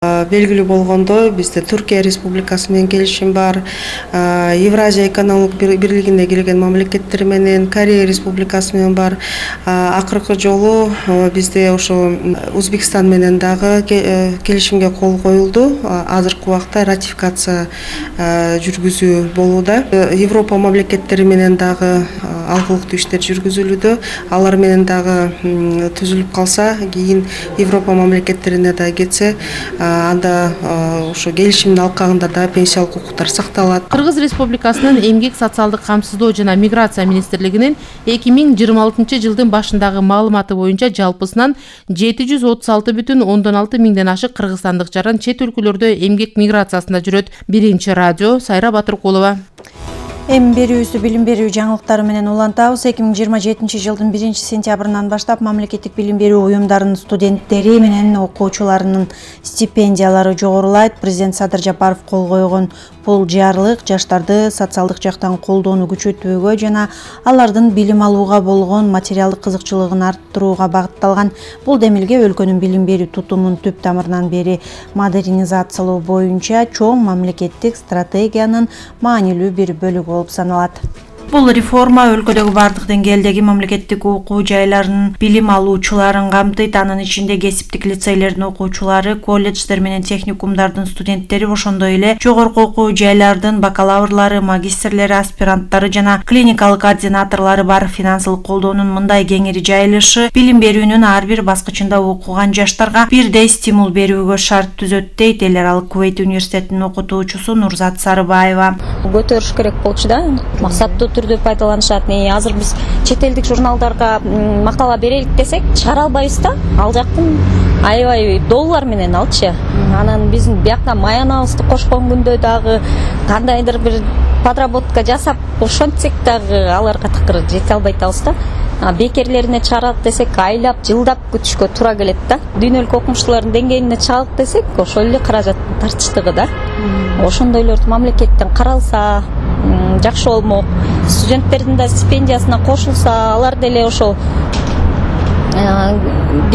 Белгилүү болгондой, бизде Түркия Республикасы менен келишим бар, Евразия экономик бирлигине кирген мамлекеттер менен, Корея Республикасы менен бар. Акыркы жолу бизде ошо Өзбекстан менен дагы келишимге кол коюлду. Азыркы убакта ратификация жүргүзүү болууда. Европа мамлекеттери менен дагы алкылыктуу иштер жүргүзүлүүдө. Алар менен дагы түзүлүп калса, кийин Европа мамлекеттерине да кетсе, анда ошо келишимдин алкагында да пенсиялык укуктар сакталат. Кыргыз Республикасынын Эмгек социалдык камсыздоо жана миграция министрлигинин 2026 жылдын башындагы маалыматы боюнча жалпысынан 736,6 миңден ашык кыргызстандык жаран чет өлкөлөрдө эмгек миграциясында жүрөт. Биринчи радио, Сайра Батыркулова. Эми берүүбүздү билим берүү жаңылыктары менен улантабыз. 2027 жылдын 1 сентябрынан баштап мамлекеттик билим берүү уюмдарынын студенттери менен окуучуларынын стипендиялары жогорулайт. Президент Садыр Жапаров кол койгон бул жарлык жаштарды социалдык жактан колдоону күчөтүүгө жана алардын билим алууга болгон материалдык кызыкчылыгын арттырууга багытталган. Бул демилге өлкөнүн билим берүү тутумун түп тамырынан бери модернизациялоо боюнча чоң мамлекеттик стратегиянын маанилүү бир бөлүгү болуп саналат. Бул реформа өлкөдөгү бардык деңгээлдеги мамлекеттик окуу жайларынын билим алуучуларын камтыйт. Анын ичинде кесиптик лицейлердин окуучулары, колледждер менен техникумдардын студенттери, ошондой эле жогорку окуу жайлардын бакалаврлары, магистрлери, аспиранттары жана клиникалык координаторлору бар. Финансылык колдоонун мындай кеңири жайылышы билим берүүнүн ар бир баскычында окуган жаштарга бирдей стимул берүүгө шарт түзөт, дейт Эл Аралык Кувейт университетинин окутуучусу Нурзат Сарыбаева. Көтөрүш керек болчу да, максаттуу түрдө пайдаланышат. Азыр биз чет элдик журналдарга макала берелик десек, чыгара албайбыз да. Ал жактын аябай доллар менен алчы. Анан биздин биякка маянабызды кошкон күндө дагы кандайдыр бир подработка жасап ошентсек дагы аларга такыр жете албай атабыз да. Бекерлерине чыгарат десек, айлап, жылдап күтүшкө туура келет да. Дүйнөлүк окумуштуулардын деңгээлине чыгалык десек, ошол эле каражаттын тартыштыгы да. Ошондойлорду мамлекеттен каралса жакшы болмок. Студенттердин да стипендиясына кошулса, алар деле ошол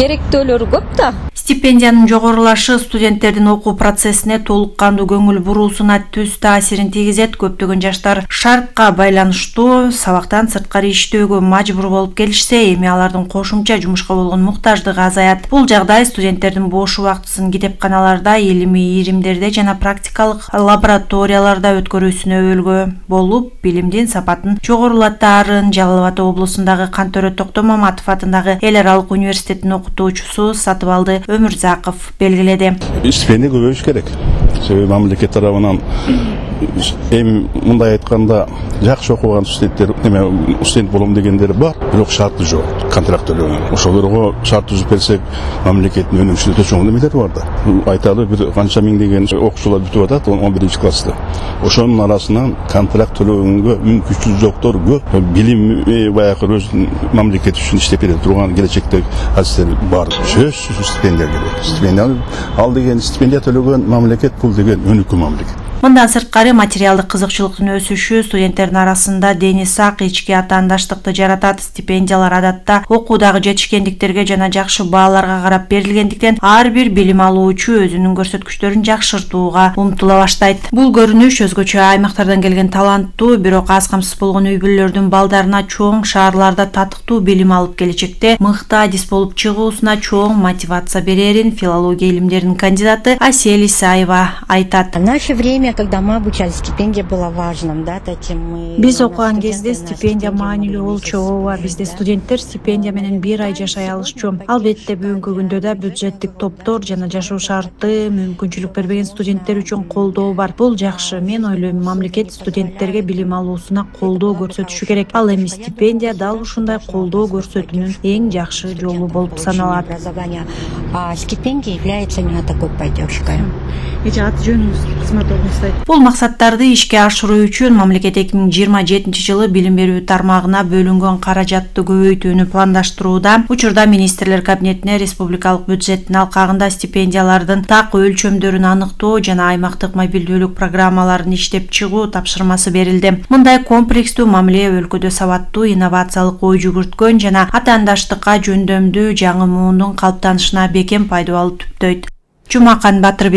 керектөөлөрү көп да. Стипендиянын жогорулашы студенттердин окуу процессине толук кандуу көңүл буруусуна түз таасирин тийгизет. Көптөгөн жаштар шартка байланыштуу сабактан сырткары иштөөгө мажбур болуп келишсе, эми алардын кошумча жумушка болгон муктаждыгы азаят. Бул жагдай студенттердин бош убактысын китепканаларда, илимий иримдерде жана практикалык лабораторияларда өткөрүүсүнө өбөлгө болуп, билимдин сапатын жогорулатаарын Жалал Абад облусундагы Кантөрө Токтомаматов атындагы Эл Аралык университетинин окутуучусу Сатыбалды Өмүрзаков белгиледи. Стипендия көбөйүш керек. Себеби мамлекет тарабынан эми мындай айтканда жакшы окуган студенттер, студент болом дегендер бар, бирок шарты жок, контракт төлөгөн. Ошолорго шарт түзүп берсек, мамлекеттин өнүгүшүнө чоң немелер бар да. Айталы бир канча миңдеген окуучулар бүтүп атат 11-класста. Ошонун арасынан контракт төлөгөнгө мүмкүнчүлүгү жоктор көп. Билим баягы өз мамлекет үчүн иштеп бере турган келечектеги азиздер бар. Сөзсүз стипендия керек. Стипендия ал деген стипендия төлөгөн мамлекет, бул деген өнүккөн мамлекет. Мындан сырткары материалдык кызыкчылыктын өсүшү студенттердин арасында дени сак, ички атаандаштыкты жаратат. Стипендиялар адатта окуудагы жетишкендиктерге жана жакшы бааларга карап берилгендиктен ар бир билим алуучу өзүнүн көрсөткүчтөрүн жакшыртууга умтула баштайт. Бул көрүнүш өзгөчө аймактардан келген таланттуу, бирок аз камсыз болгон үй бүлөлөрдүн балдарына чоң шаарларда татыктуу билим алып келечекте мыкты адис болуп чыгуусуна чоң мотивация берерин филология илимдеринин кандидаты Асель Исаева айтат. В наше время, когда мы обучались, стипендия была важным, да, таким мы. Биз окуган кезде стипендия маанилүү болчу. Ооба, бизде студенттер стипендия менен 1 ай жашай алышчу. Албетте бүгүнкү күндө да бюджеттик топтор жана жашоо шарты мүмкүнчүлүк бербеген студенттер үчүн колдоо бар. Бул жакшы. Мен ойлойм, мамлекет студенттерге билим алуусуна колдоо көрсөтүшү керек. Ал эми стипендия дал ушундай колдоо көрсөтүүнүн эң жакшы жолу болуп саналат. Стипендия является именно такой поддержкой. Ат жөнүңүз кызмат орнуңузда. Бул максаттарды ишке ашыруу үчүн мамлекет 2027 жылы билим берүү тармагына бөлүнгөн каражатты көбөйтүүнү пландаштырууда. Учурда министрлер кабинетине республикалык бюджеттин алкагында стипендиялардын так өлчөмдөрүн аныктоо жана аймактык мобилдүүлүк программаларын иштеп чыгуу тапшырмасы берилди. Мындай комплекстүү мамиле өлкөдө сабаттуу инновациялык ой жүгүрткөн жана атаандаштыкка жөндөмдүү жаңы муундун калыптанышына бекем пайдалуу түптөйт. Жумакан Батырбек.